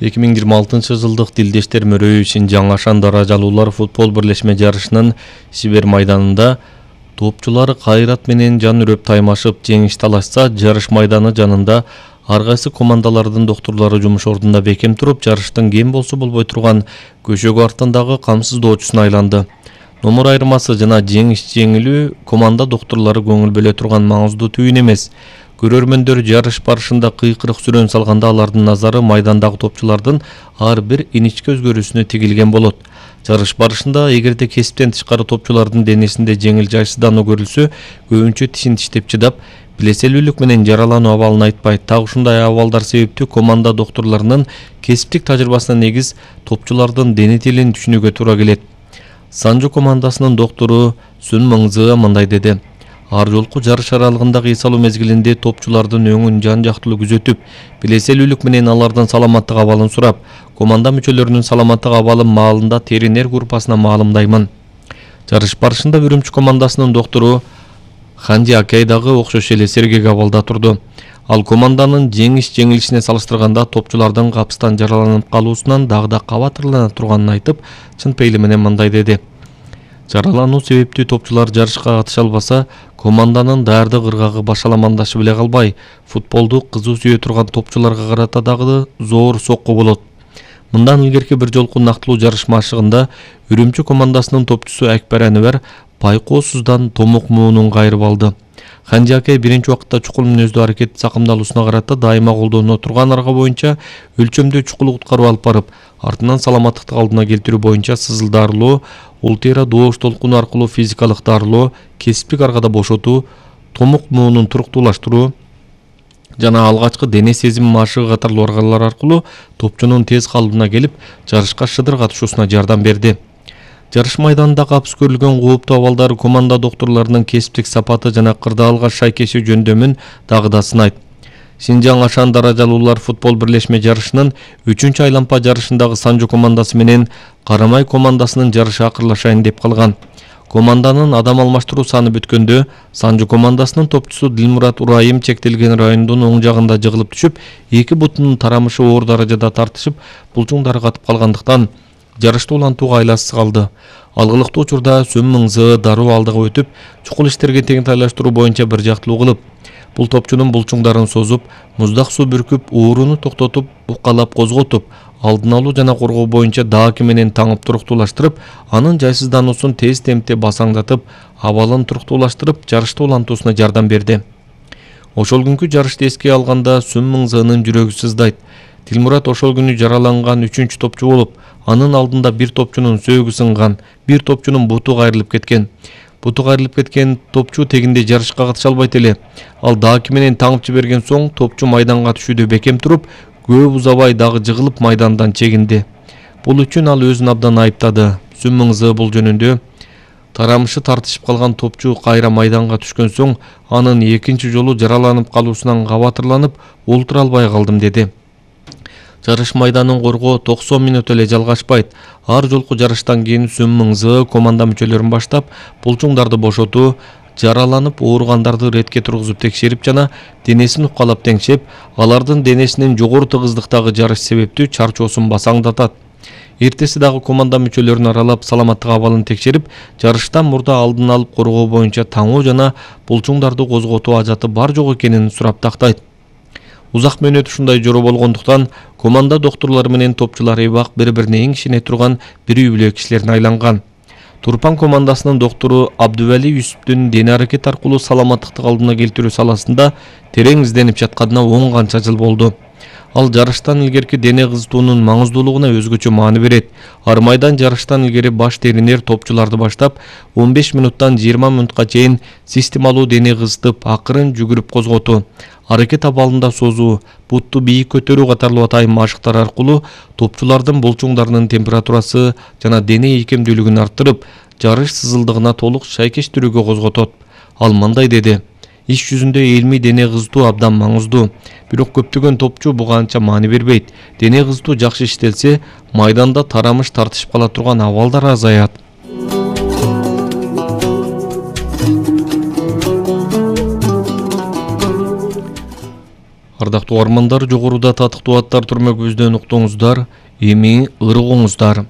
2026 Дилдештер мөрөйү Шинжаң Ашан даражалуулар футбол бирлешме жарышынын Сибер майданында топчулар кайрат менен жан үрөп таймашып жеңиш талашса, жарыш майданы жанында ар кайсы командалардын доктурлары жумуш ордунда бекем туруп, жарыштын кем болсо болбой турган көшөгө артындагы камсыздоочусуна айланды. Номер айырмасы жана жеңиш жеңилүү команда доктурлары көңүл бөлө турган маңыздуу түйүн эмес. Көрөрмөндөр жарыш барышында кыйкырык сүрөн салганда алардын назары майдандагы топчулардын ар бир иничке өзгөрүүсүнө тигилген болот. Жарыш барышында эгерде кесиптен тышкары топчулардын денесинде жеңил жайсыздануу көрүлсө, көбүнчө тишин тиштеп чыдап, билеселүүлүк менен жаралануу абалын айтпайт. Так ушундай абалдар себептүү команда доктурларынын кесиптик тажрыйбасына негиз топчулардын дене тилин түшүнүүгө туура келет. Санжу командасынын доктору Сүн Мыңзы мындай деди. Ар жолку жарыш аралыгындагы эс алуу мезгилинде топчулардын өңүн жан жактылуу күзөтүп, билеселүүлүк менен алардын саламаттык абалын сурап, команда мүчөлөрүнүн саламаттык абалы маалында теринер группасына маалымдаймын. Жарыш барышында Үрүмчү командасынын доктору Ханжи Акей дагы окшош эле сергек абалда турду. Ал команданын жеңиш-жеңилишине салыштырганда топчулардын капыстан жараланып калуусунан дагы да кабатырлана турганын айтып, чын пейили менен мындай деди. Жаралануу себептүү топчулар жарышка катыша албаса, команданын даардык ыргагы башаламандашы беле калбай, футболду кызуу сүйө турган топчуларга карата дагы зоор сокку болот. Мындан илгерки бир жолку нактылуу жарыш машыгында Үрүмчү командасынын топчусу Акбар Анвар пайкоосуздан томок муунун кайрып алды. Ханжи Акей биринчи убакытта чукул мүнөздүү аракет сакымдалуусуна карата дайыма колдоно турган арга боюнча өлчөмдүү чукул куткарып алып барып, артынан саламаттыкты алдына келтирүү боюнча сызылдарлоо, ултера доош толкуну аркылуу физикалык дарылоо, кесиптик аргада бошотуу, томок муунун туруктуулаштыруу жана алгачкы дене сезим машыгы катарлуу аргалар аркылуу топчунун тез калыбына келип, жарышка шыдыр катышуусуна жардам берди. Жарыш майданында капыс көрүлгөн кооптуу абалдар команда доктурларынын кесиптик сапаты жана кырдаалга шайкеши жөндөмүн дагы да сынайт. Шинжаң Ашан даражалуулар футбол бирлешме жарышынын 3-чү айлампа жарышындагы Санжу командасы менен Карамай командасынын жарышы акырлашайын деп калган. Команданын адам алмаштыруу саны бүткөндө Санжу командасынын топчусу Дилмурат Урайым чектелген райондун оң жагында жыгылып түшүп, эки бутунун тарамышы оор даражада тартышып, булчуңдары катып калгандыктан жарышты улантууга айласыз калды. Алгылыктуу учурда Сүн Мыңзы дароо алдыга өтүп, чукул иштерге теңтайлаштыруу боюнча бир жактылуу кылып, бул топчунун булчуңдарын созуп, муздак суу бүркүп, ооруну токтотуп, укалап козготуп, алдын алуу жана коргоо боюнча дааки менен таңып туруктуулаштырып, анын жайсыздануусун тез темпте басаңдатып, абалын туруктуулаштырып, жарышты улантуусуна жардам берди. Ошол күнкү жарышты эске алганда Сүн Мыңзынын жүрөгү сыздайт. Дилмурат ошол күнү жараланган 3-чү топчу болуп, анын алдында бир топчунун сөөгү сынган, бир топчунун буту кайрылып кеткен. Буту кайрылып кеткен топчу тегинде жарышка катыша албайт эле. Ал дааки менен таңып жиберген соң топчу майданга түшүүдө бекем туруп, көп узабай дагы жыгылып майдандан чегинди. Бул үчүн ал өзүн абдан айыптады. Сүн Мыңзы бул жөнүндө тарамышы тартышып калган топчу кайра майданга түшкөн соң анын экинчи жолу жараланып калуусунан кабатырланып, олтура албай калдым деди. Жарыш майданын коргоо 90 мүнөт эле жалгашпайт. Ар жолку жарыштан кийин Сүн Мыңзы команда мүчөлөрүн баштап, булчуңдарды бошотуу, жараланып ооругандарды ретке тургузуп текшерип жана денесин укалап теңшеп, алардын денесинин жогору тыгыздыктагы жарыш себептүү чарчоосун басаңдатат. Эртеси дагы команда мүчөлөрүн аралап, саламаттык абалын текшерип, жарыштан мурда алдын алып коргоо боюнча таңоо жана булчуңдарды козготуу ажаты бар жок экенин сурап тактайт. Узак мөөнөт ушундай жоро болгондуктан команда доктурлары менен топчулар эбак бири-бирине эң ишене турган бир үй-бүлө кишилерине айланган. Турпан командасынын доктору Абдували Юсуптун дене аракет аркылуу саламаттыкты калыбына келтирүү саласында терең изденип жатканына 10 канча жыл болду. Ал жарыштан илгерки дене кызытуунун маңыздуулугуна өзгөчө маани берет. Ар майдан жарыштан илгери баш теринер топчуларды баштап, 15 мүнуттан 20 мүнутка чейин системалуу дене кызытып, акырын жүгүрүп козготуу, аракет абалында созуу, бутту бийик көтөрүү катарлуу атайын машыктар аркылуу топчулардын булчуңдарынын температурасы жана дене ийкемдүүлүгүн арттырып, жарыш сызылдыгына толук шайкеш түрүгө козготот. Ал мындай деди. Иш жүзүндө илмий дене кызытуу абдан маңыздуу. Бирок көптөгөн топчу буга анча маани бербейт. Дене кызытуу жакшы иштелсе, майданда тарамыш тартышып кала турган абалдар азаят. Кардактуу угармандар, жогоруда татыктуу аттар түрмөгүбүздөн уктуңуздар, эми ыргоңуздар.